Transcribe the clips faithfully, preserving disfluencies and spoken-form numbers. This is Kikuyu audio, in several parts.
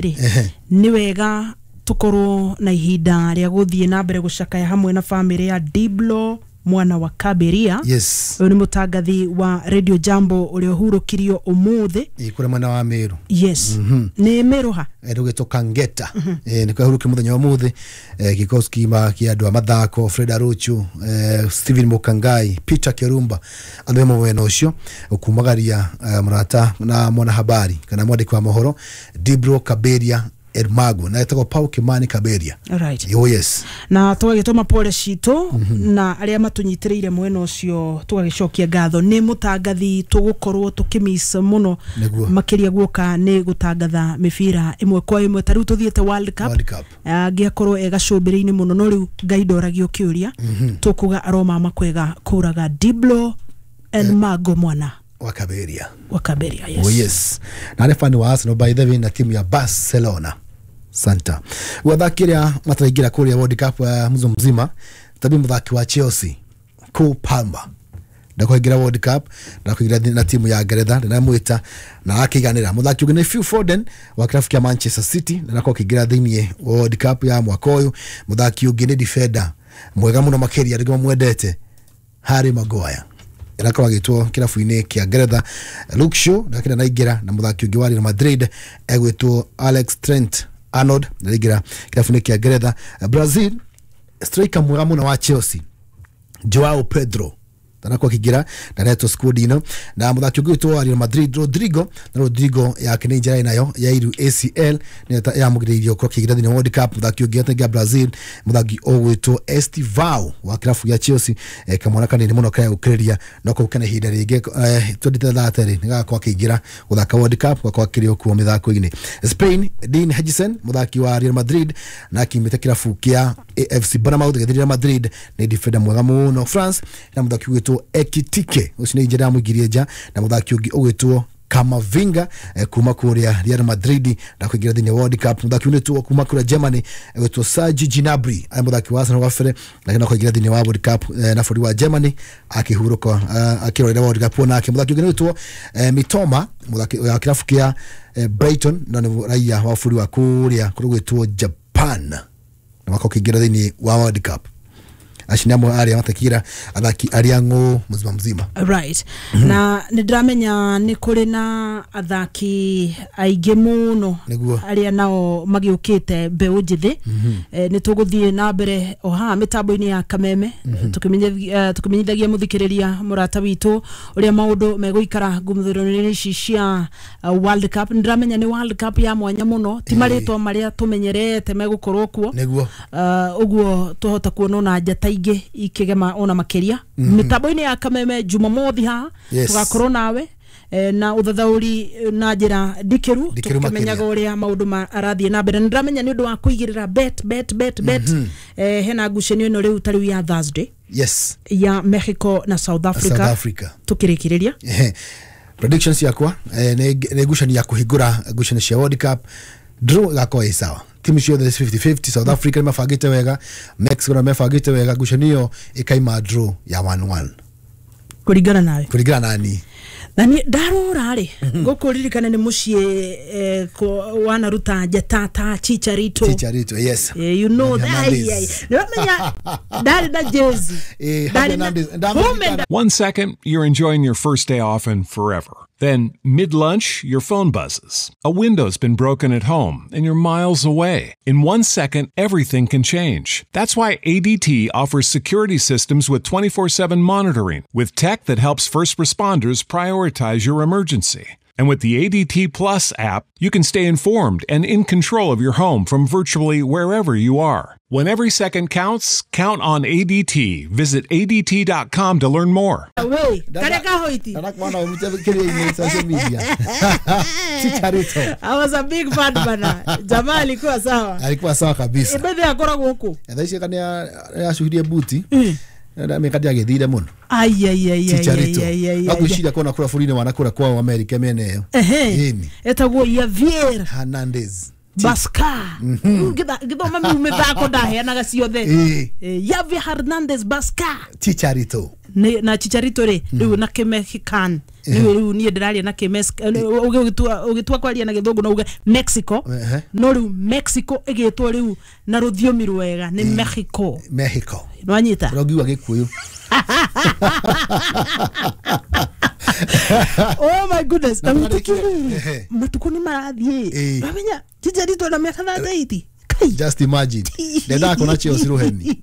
Rĩ, nĩ wega tukorwo na ihinda rĩa gũthiĩ na mbere gũcakaya hamwe na famĩlĩ ya Diblo mwana wa Kaberia. Yes. Ũyũ nĩ mũtangathi wa Radio Jambo ũrĩa ũhurũkirio ũmũthĩ. Ĩ kũrĩa mwena wa Meru. Yes, nĩ Meru ha? Rũgĩtwo Kangeta. Eh, nĩ kwahurũkio mũthenya wa ũmũthĩ. eh, gĩkosi kima kĩa andũ a mathako, Fred Arocho, eh, Stephen Mukangai, Peter Kerumba, andũ amwe mwena ũcio kumagaria eh, mũrata na mwanahabari kana mwandĩki wa mohoro Dibro Kaberia Ermago, na etagwo Paul Kimani Kaberia. Right. Oh yes. Na tũgagĩtũma pole citũ na arĩa matũnyitĩrĩire mwena ũcio, tũgagĩcokia ngatho. Nĩ mũtangathi tũgũkorwo tũkĩmiss mũno. Nĩguo. Makĩria guoka nĩ gũtangatha mĩbira ĩmwe kwa ĩmwe, ta rĩu tũthiĩte World Cup. World Cup. Angĩakorwo e gacũmbĩrĩ-inĩ mũno, no rĩu Ngai ndoragio kĩũria. Tũkuga aromama kwega kũraga Diblo Elmago mwana wa Kaberia. Wa Kaberia, yes. Oh yes. Na arĩ fan wa Arsenal, by the way, na timu ya Barcelona. Santa. Wathaki arĩa mataraingĩra kũrĩa World Cup uh, mzo mzima tabi mũthaki wa Chelsea Cole Palmer ndakũingĩra World Cup, ndakũingĩra na timu ya Ngeretha, ndinamwĩta na akĩiganĩra. Mũthaki ũngĩ nĩ Phil Foden wa kĩrabu kĩa Manchester City, na ndakorwo akĩingĩra thĩinĩ wa World Cup ya mwaka ũyũ. Mũthaki ũngĩ nĩ defender mwega mũno makĩria, andũ mamwendete, Harry Maguire, arakorwo agĩtwo kĩrabu-inĩ kĩa Ngeretha. Luke Shaw ndakĩra naingĩra, na mũthaki ũngĩ wa Real Madrid egwĩtwo Alex Trent Arnold ndaingĩra kĩrabu-inĩ kĩa Ngeretha. Brazil, striker mwega mũno wa Chelsea Joao Pedro ndanakorwo akĩingĩra, ndaretwo squad ino. Na mũthaki ũngĩ wĩtwo wa Real Madrid Rodrigo, na Rodrigo yake nĩ njera nayo ya iru A C L nĩ yamũgirĩrĩirie gũkorwo akĩingĩra thĩinĩ wa World Cup. Mũthaki ũngĩ atengia Brazil, mũthaki ũgwĩtwo Estevao wa kĩrabu gĩa Chelsea, eh, kamwana kanini mũno karĩa gũkĩrĩria no kau kena ihinda rĩngĩ eh, twenty thirty nĩ gagakorwo akĩingĩra gũthaka World Cup, gwakorwo akĩrĩ o kuo mĩthako-inĩ. Spain, Dean Huijsen, mũthaki wa Real Madrid na akiumĩte kĩrabu kĩa A F C Bournemouth gĩthiĩ Real Madrid, nĩ defender mwega mũno. France na mũthaki ũgwĩtwo Ekitike, ũcio nĩ njĩra yamũingĩrie nja, na mũthaki ũngĩ ũgwĩtwo Kamavinga eh, kuma kũrĩa Real Madrid na kũingĩra thĩinĩ wa World Cup. Mũthaki ũngĩ kuma kũrĩa Germany egwĩtwo Serge Gnabry, arĩ mũthaki wa Arsenal gabere, lakini akũingĩra thĩinĩ wa World Cup eh, na bũrũri wa Germany akĩhurũka eh, akĩrorera World Cup onake. Mũthaki ũngĩ nĩ eh, Mitoma, mũthaki wa kĩrabu kĩa eh, Brighton, na nĩ raia wa bũrũri wa kũrĩa kũrĩa gwĩtwo Japan, na wakorwo akĩingĩra thĩinĩ wa World Cup. Acio nĩ amwe arĩa matakira athaki arĩa ng'ũ mzima mzima. Right, na nĩ ndĩramenya nĩ kũrĩ na athaki aingĩ mũno Nĩguo. arĩa nao magĩũkĩte mbeũ njĩthĩ. Eh, nĩ tũgũthiĩ na mbere o haha mĩtambo-inĩ ya Kameme tũkĩmenye- eh, tũkĩmenyithagia mũthikĩrĩria mũrata witũ ũrĩa maũndũ megũikara ngumũthĩro-inĩ ici cia uh, World Cup. Nĩ ndĩramenya nĩ World Cup ya mwanya mũno, ti marĩtwa marĩa tũmenyerete megũkorwo kuo. Nĩguo. uh, ũguo twahota kuona ona njata ingĩ ikĩgema ona makĩria mĩtambo-inĩ ya Kameme Jumamothi haha. Yes. Tũgakorwo nawe eh, na ũthathaũri eh, na njĩra ndikĩru, Ndikĩru tũkĩmenyaga makĩria. ũrĩa maũndũ ma- arathiĩ na mbere. Nĩ ndĩramenya nĩ ũndũ wa kũigĩrĩra bet bet bet bet eh, hena ngucanio ĩno rĩu ta rĩu ya Thursday yes ya Mexico na South Africa. South Africa. Tũkĩrĩkĩrĩria. Ehe. Predictions ciakwa eh, nĩ nĩ ngucanio ya kũhingũra ngucanio cia World Cup, draw ĩgakorwo ĩ sawa. Timu ciothe nĩ fifty fifty. South Africa nĩ mabangĩte wega, Mexico na mebangĩte wega, ngucanio ĩyo ĩkaima draw ya one one. Kũringana nawe? Kũringana na niĩ. Na niĩ ndarora rĩ, gũkũ ririkane nĩ mũciĩ eh, kũ- wanaruta njata ta Chicharito. Chicharito, yes. Eh, you know that. Hernandez. Ai, ai. Nĩwamenya ndarĩ na jezi. Eh, Ndarĩ na- Hernandez. Ndamũririkana. Home One second, you're enjoying your first day off and forever. Then, mid lunch, your phone buzzes. A window's been broken at home and you're miles away. In one second, everything can change. That's why A D T offers security systems with twenty-four seven monitoring, with tech that helps first responders prioritize your emergency. And with the A D T Plus app, you can stay informed and in control of your home from virtually wherever you are. When every second counts, count on A D T. Visit A D T dot com to learn more. Away karĩa kahoiti. Ndanakuona kĩrĩa-inĩ social media, Chicharito. I was a big fan bana, jamaa alikuwa sawa. Alikuwa sawa kabisa. Bethe akoragwo kũ? Thaa ici kana nĩ acuhirie buti mĩka ndiagĩthire mũno. Ai, ai, ai, ai, Chicharito. ai, ai, ai, ai. Agwĩciria kona kũrĩa bũrũri-inĩ wanakũra kwao Amerika mĩena ĩyo. Ehe. Ĩni. Etagwo Javier Hernandez. Basca. Ngĩthoma miu mĩthako ndaheanaga ciothe. Ĩĩ. Eh, Javier Hernandez Basca. Chicharito. Nĩ- na Chicharito rĩ, rĩu na kĩmexican. Nĩ rĩu niĩ ndĩraria na kĩ ũgĩtua kwaria na gĩthũngũ no uge Mexico, no rĩu Mexico ĩgĩtwo rĩu na rũthiomi rwega nĩ Mexico. Mexico nĩwanyita rũngiuga Gĩkũyũ. Oh my goodness, na matukũ nĩ marathiĩ, wamenya Chicharito na mĩaka thirty-eight. Just imagine ndendaga kuona Chelsea rũheni.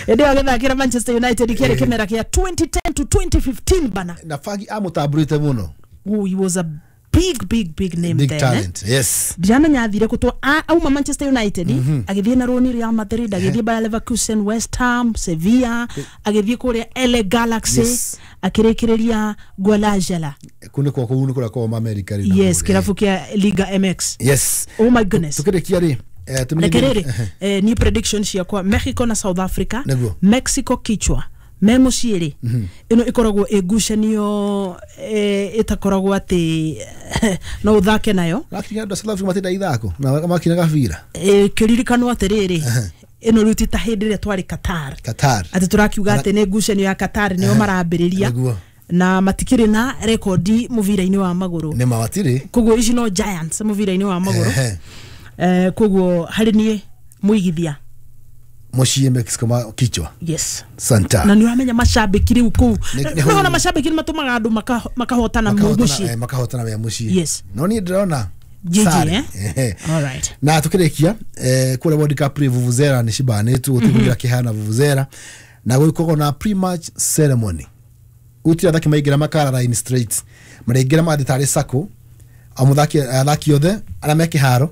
Ĩndĩ agĩthakĩra Manchester United kĩarĩ kĩmera kĩa twenty ten to twenty fifteen bana, na Fergie amũtambũrĩte mũno. Oh, he was a big big big name, big there, talent. Eh? Yes, ndiramenya athire kutwo auma Manchester United, agithie na roni Real Madrid, agithie Bayer Leverkusen, West Ham, Sevilla, agithie kuria L A Galaxy, yes, akirikireria Guadalajara kune kwa kuu kura kwa America ri, yes, kirabu kia Liga M X. Yes. Oh my goodness, tukirikia ri eh tumenye eh ni prediction ciakwa Mexico na South Africa. Neguo. Mexico kichwa me muciĩ rĩ, ĩno ĩkoragwo ĩngucanio ĩtakoragwo atĩ no ũthake nayo. Lakini andũ a South Africa matinda ithako na makina gabira kĩririkanwo atĩrĩrĩ, ĩno rĩu ti ta hĩndĩ ĩrĩa twarĩ Qatar. Qatar atĩ tũrakiuga atĩ nĩ ngucanio ya Qatar nĩo marambĩrĩria na matikĩrĩ na rekondi mũbira-inĩ wa magũrũ, nĩ mawatirĩ, koguo ici no giants mũbira-inĩ wa magũrũ. Koguo harĩ niĩ mũigithia muciĩ Mexico ma kichwa. Yes. Santa. Na nĩũramenya macambĩki rĩu kũu nĩwona macambĩki nĩ matũmaga andũ makahotana mũciĩ, makahotana wea mũciĩ. Yes. No niĩ ndĩrona G G, eh? All right. Na tukĩrĩkia eh, kũrĩa World Cup rĩ, vuvuzela nĩ cibanĩtwo gũtigũgira kĩhana vuvuzela na gũkorwo na pre-match ceremony. Gũtirĩ athaki maingĩra makara line straight, maraingĩra mathiĩ tarĩ sako o mũthaki athaki othe arĩa me kĩharo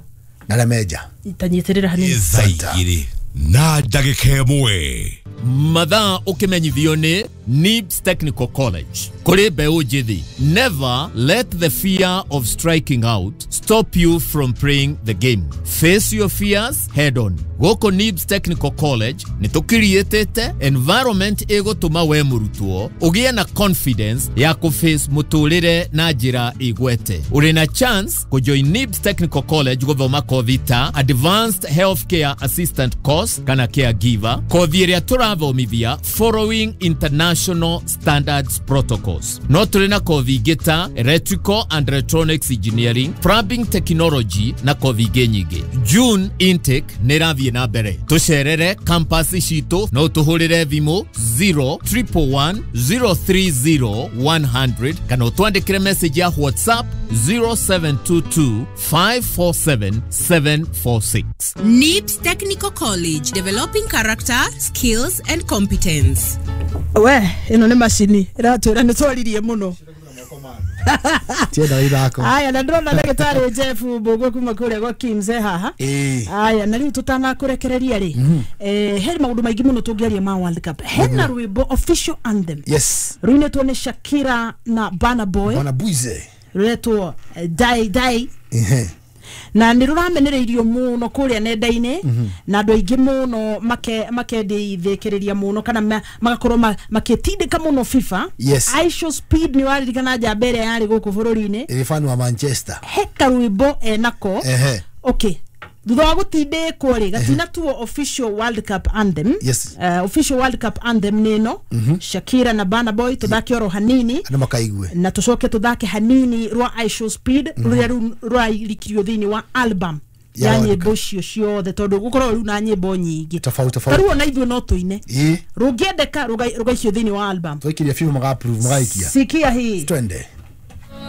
na arĩa me nja. Tanyitĩrĩra hanini. Thaa igĩrĩ na ndagĩka ĩmwe. Mathaa ũkĩmenyithio nĩ Nibs Technical College. Kũrĩ mbeũ njĩthĩ, never let the fear of striking out stop you from playing the game. Face your fears head on. Gũkũ Nibs Technical College nĩ tũkiriĩtĩte environment ĩgũtũma we mũrutwo ũgĩe na confidence ya kũface mũtũrĩre na njĩra ĩgwete. Ũrĩ na chance kũjoin Nibs Technical College gũthoma kothi ta Advanced Healthcare Assistant Course kana Caregiver, kothi ĩrĩa tũrathomithia following international standards protocols. No tũrĩ na kothi ingĩ ta Electrical and Electronics Engineering, Plumbing Technology na kothi ingĩ nyingĩ. June intake nĩ ĩrathiĩ na mbere. Tũcerere campus citũ no tũhũrĩre thimũ zero triple one zero three zero one hundred kana ũtwandĩkĩre message ya WhatsApp zero seven two two five four seven seven four six. Nibs Technical College, developing character, skills and competence. We, ĩno nĩ macini ĩratwĩra nĩ twaririe mũno. Tienda ithako. Aya, na ndĩrona ndagĩtarĩ Jeff Mbũgua kuma kũrĩa gwa Kims haha. Aya, na rĩu tũtanakũrekereria rĩ, eh he maũndũ maingĩ mũno tũngĩaria ma World Cup. Hena rwĩmbo official anthem. Yes. Rũinĩtwo nĩ Shakira na Burna Boy. Burna Boy. Rũretwo Dai Dai. Na nĩ rũramenereirio mũno kũrĩa nenda-inĩ, na andũ aingĩ mũno makendithĩkĩrĩria mũno kana magakorwo makĩtindĩka mũno FIFA. Yes. Aisha Speed nĩ waririkana njamba ĩrĩa yarĩ gũkũ bũrũri-inĩ, ĩrĩ fan wa Manchester, he karwĩmbo enako. Okay, thutha wa gũtindĩkwo rĩ, gatinatuo official World Cup anthem. Yes. Uh, official World Cup anthem nĩ ĩno, Shakira na Burna Boy. Tũthake oro hanini andũ makaigue, na tũcoke tũthake hanini rwa Aisha Speed rũrĩa rĩu rũrairikirio thĩinĩ wa album ya nyĩmbo icio ciothe, tondũ gũkorwo rĩu na nyĩmbo nyingĩ tofauti tofauti. Tarĩu ona ithuĩ no tũine rũngĩendeka rũgaicio thĩinĩ wa album, tũikirie FIFA maka approve magaikia. Sikia hii, twende.